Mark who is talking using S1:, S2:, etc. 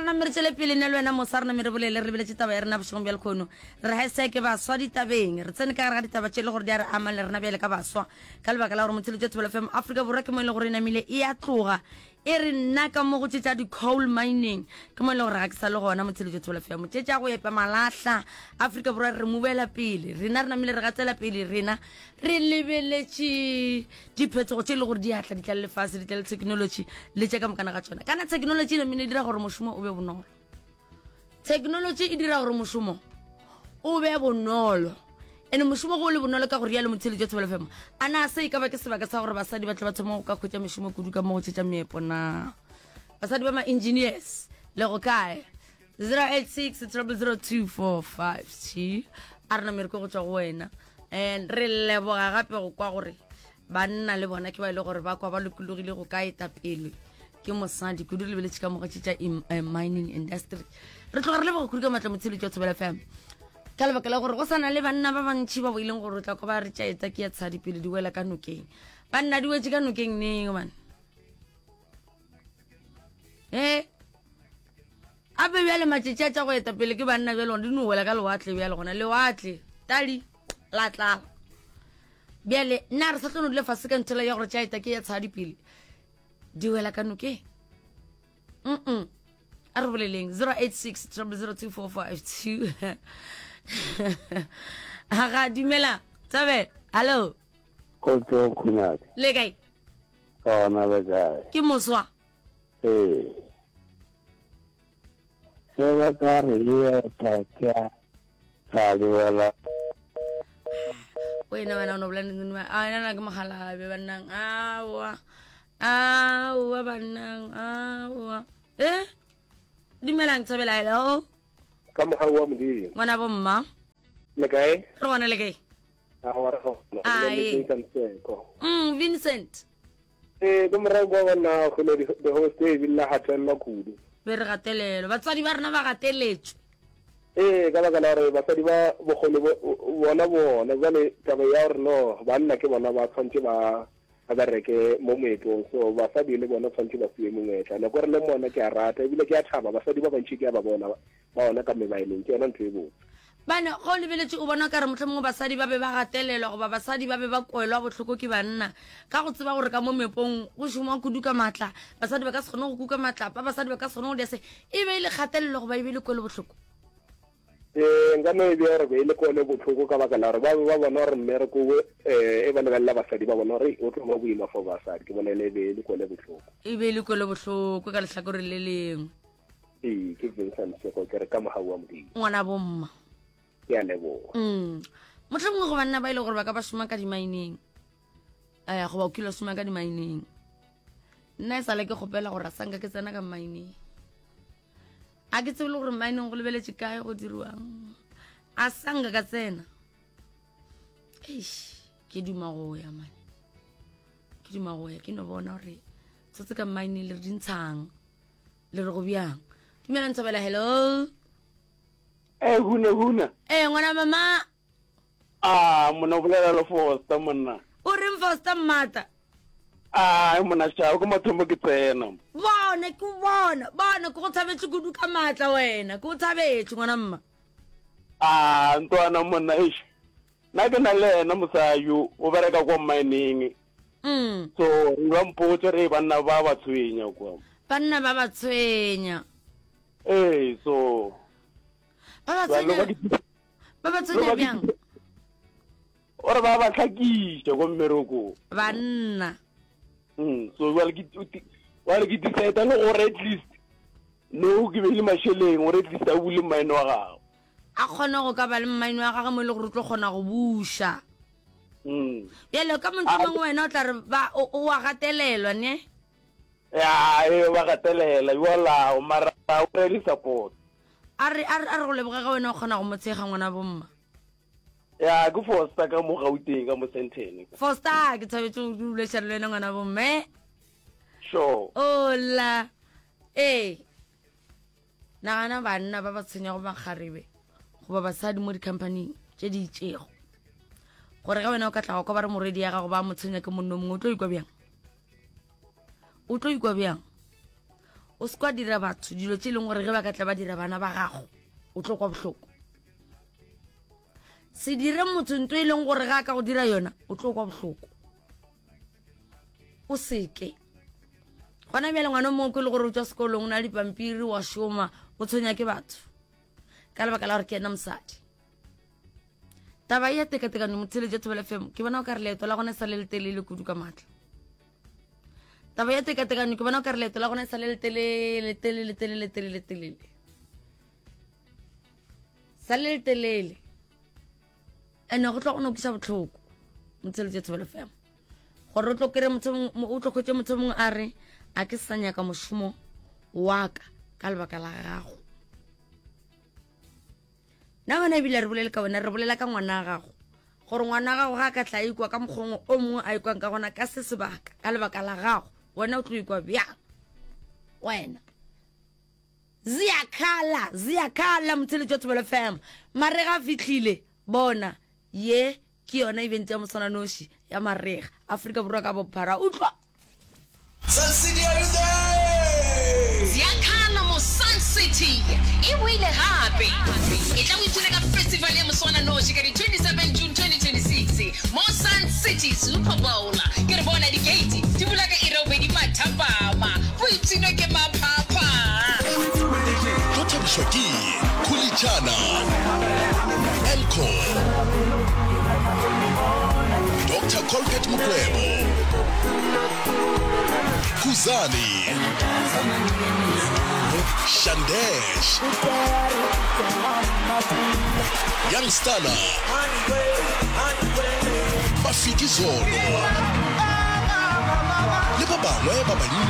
S1: rena mme re tšwele pele nna le wena mosa rena mme re bolele re lebeletše taba ya rena bošegong bja lekgono. Re hashtag baswa ditabeng. Re tsene ka gare ga ditaba tše e le gore di a re ama le rena bjale ka baswa. Ka lebaka la gore motheletši wa Thobela FM Afrika Borwa ke mo e le gore e namile e a tloga e re nna ka mo go tše tša di-coal mining ke mo e le gore ga ke sa le gona motheletši wa Thobela FM. Tše tša go epa malahla Afrika Borwa re movela pele. Rena re namile re gatela pele rena re lebeletše diphetogo tše e le gore di atla di tla le lefase di tla le technology le tše ka mokana ga tsona kana technology e namile e dira gore mošomo o be bonolo technology e dira gore mošomo o be bonolo and mošomo go o le bonolo ka go rialo motheletši wa thobela fm a na se e ka ba ke sebaka sa gore basadi ba tle ba thoma go ka hwetša mešomo kudu ka mo go tšhetša meepo na basadi ba ma-engineers le go kae 086 0002452 a rena mereko go tšwa go wena and re leboga gape go kwa gore banna le bona ke ba e le gore ba kwa ba lokologile go ka eta pele ke mosadi kudu re lebeletše ka mogo tša eh, mining industry re tloga re leboga kudu ka matla motsheletši wa thobela fm ka lebaka la gore go sa na le banna ba bantšhi ba bo e leng gore o tla kwa ba re tša eta ke ya tshadi pele di wela ka nokeng banna di wetse ka nokeng neng bana e ape bjale matšatši a tša go eta pele ke banna bjale gona di no wela ka lewatle bjale gona lewatle tadi la tlala bjale nna re sa tlo no dula fase ka nthela ya gore tša eta ke ya tshadi pele di wela ka nokeng mm a re boleleng 086 0024452 ga dumela tsabe hallo
S2: Kgotso Khunadi.
S1: Le kae?
S2: Gona le kae?
S1: Ke moswa.
S2: Ee. Se ba ka re le eta ke a sa le wela.
S1: Wena wena o no bolela a nna ke mogalabe bannang aowa aowa bannang aowa eh dumelang thabela hello
S3: ka mogau wa modimo
S1: ngwana bomma
S3: le kae
S1: re gona le kae
S3: Aowa re gona.
S1: Ae. Mm, Vincent.
S3: Ee, ke morago kwa gona kgole the host e bile la gatelelwa kudu.
S1: Be re gatelelwa. Batswadi ba rena ba gateletšwe.
S3: Ee, ka baka la gore basadi ba bokgoni bona bona jale taba ya gore no banna ke bona ba tshwanetse ba ba bereke mo moetlong so basadi le bona tshwanetse ba fiwe monyetla nako re le mona ke a rata ebile ke a thaba basadi ba bantši ke a ba bona ba ona ka mebaeleng ke yona ntho e botse.
S1: Bane, ge o lebeletše o bona o ka re mohlomongwe basadi ba be ba gatelelwa goba basadi ba be ba kwelwa bohloko ke banna ka go tseba gore ka mo meepong go šongwa kudu ka maatla, basadi ba ka se kgone go kuka matlapa, basadi ba ka se kgone go dira se, e be e le kgatelelo goba e be e le kwelobohloko?
S3: Ee, nka no e bea gore be e le kwelobohloko ka baka la gore ba be ba bona gore mmereko wo um e ba lebelela basadi ba bona gore o tlo ba boima for basadi, ke bona e le e be e le kwelobohloko.
S1: E be e le kwelobohloko ka lehlakoreng le lengwe.
S3: Ee, ke Vincent Sego, ke re ka mogau wa Modimo.
S1: Ngwana bomma.
S3: Ke a leboga.
S1: Mm. Mohlomongwe go banna ba ile e gore ba ka ba šoma ka dimaineng. Eh, goba o kile wa šoma ka dimaineng. Nna e sale ke kgopela gore a sanka ke tsena ka maineng. A ke tsebe le gore maineng go lebeletše kae go diriwang. A sanka ka tsena. Eish, ke duma go ya mane. Ke duma go ya ke no bona gore tsotse ka maineng le re dintshang. Le re go bjang? Dumela Ntshobela, hello.
S2: Eh, huna huna.
S1: Eh, ngwana mama.
S2: Ah, monna o bolela le Foster monna.
S1: O reng Foster mmata?
S2: Ah, monna šao ke mathomo ke tsena.
S1: Bona ke bona, bona ke go thabetše kudu ka maatla wena, ke go thabetše ngwana mma.
S2: Ah, ntwana monna eish. Nna ke na le yena mosadi o bereka kwa mining.
S1: Mm.
S2: So re ba mpotse re banna ba ba tshwenya kwa.
S1: Banna ba ba tshwenya.
S2: Ee, so
S1: ba ba tshwenya. Ba ba tshwenya bjang?
S2: Ore ba ba tlhakiša ko mmerekong.
S1: Banna.
S2: Mm, so jwale ke jwale ke decide le gore at least no ke be le masheleng gore at least a bule mine wa gagwe.
S1: A kgone go ka ba le mmaine wa gagwe mo e le gore o tlo kgona go buša.
S2: Mm.
S1: Bjale ka mantšu mangwe wena o tla re ba o a gatelelwa ne?
S2: Ya, e ba gatelela jwala mara o really support.
S1: A re a re a re go leboga ga wena o kgona go mo tshega ngwana bomma.
S2: Ya, ke Foster ka mo Gauteng ka mo Sandton.
S1: Foster, ke thabetse go dulešana le wena ngwana bomme.
S2: Sure.
S1: Ola. Ee. Nagana banna ba ba tshwenyago makgarebe goba basadi mo dikhamphaning tše di itšego. Gore ge wena o ka tla wa kwa ba re morwedi ya gago ba mo tshwenya ke monno mongwe, o tlo ikwa bjang? O tlo ikwa bjang? O se kwa dira batho dilo tše e leng gore ge ba ka tla ba dira bana ba gago, o tlo kwa bohloko. Se dire motho nto e leng gore ga a ka go dira yona, o tlo kwa bohloko. O seke. Gona bjale ngwana o mongwe ke le gore o tswa sekolong, o na le dipampiri, wa šoma, o tshwenya ke batho. Ka lebaka la gore ke ena mosadi. Taba ya tekatekano motheletša Thobela FM, ke bona o ka re leeto la gona e sa le letelele kudu ka maatla. Taba ya tekatekano ke bona o ka re leeto la gona e sa le letelele, telele, telele, telele, telele. Sa le letelele. Ene go tlo go no kisa botlhoko motheletša Thobela FM. Gore o tlo kry motho o tlo khwetše motho mongwe a re a ke sa nyaka mošomo wa ka ka lebaka la gago. Nna gona ebile re bolele ka wena, re bolela ka ngwana wa gago, gore ngwana wa gago ga a ka tla ikwa ka mokgongwe o mongwe a ikwang ka gona ka se sebaka ka lebaka la gago, wena o tlo ikwa bjang? Wena ziyakhala, ziyakhala motheletši wa Thobela FM, marega a fihlile, bona ye ke yona event ya moswananoši ya marega Afrika Borwa ka bophara. Utlwa!
S4: Sun City are you there?
S5: Ziyakhala mo Sun City e boile gape! E tla o ipshina ka festival ya moswananoši ka di 27 June 2026 mo Sun City Super Bowl. Ke re bona di-gate di bula ka iri ya bobedi mathapama. Boipshino ke maphapha!
S4: Tlo thabišwa ke Khulitšana, Elcor, Doctor Colbert Mukwevho, Khuzani, Shandesh, Young Stunna, Mafikizolo le ba bangwe ba bantši.